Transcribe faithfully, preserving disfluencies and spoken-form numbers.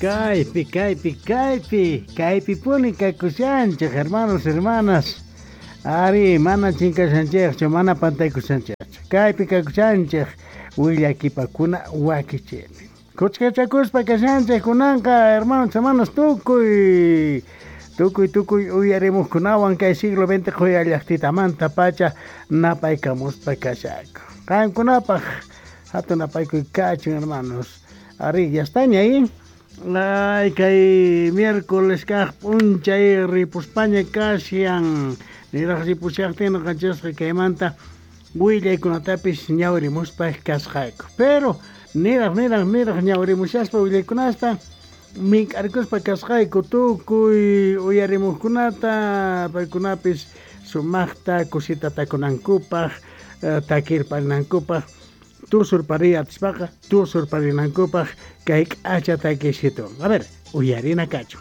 Kaypi, kaypi, kaypi, kaypipuni kakushanchej, hermanos, hermanas. Ari, mana chinkashanchejchu, mana pantaykushanchejchu. Kaypi kakushanchej, willakipakuna wakichiypi. Kuchkachakuspa kashanchej kunanqa, hermanos, hermanas, tukuy, tukuy, tukuy uyarimuqkunawan kay siglo veinte qhuya llaqtitamanta pacha napaykamuspa kashaku. Qankunapaq hatun napaykuy kachun, hermanos. Ari, ya están ahí. Ay, kay miércoles kaq p'unchay ripuspaña kashan. Niraq ripushaqtin noqanchikqa kaymanta willaykunatapis ñawrimuspa kasqayku. Pero niraq, niraq, niraq ñawrimushaspa willaykunasta mink'arkuspa kasqayku tukuy uyarimuqkunata, paykunapis sumaqta kusita takunankupaq, takirparinankupaq, tusurpariy atispaqa tusurparinankupaq kay k'acha takishitu. A ver, uyarina kachun.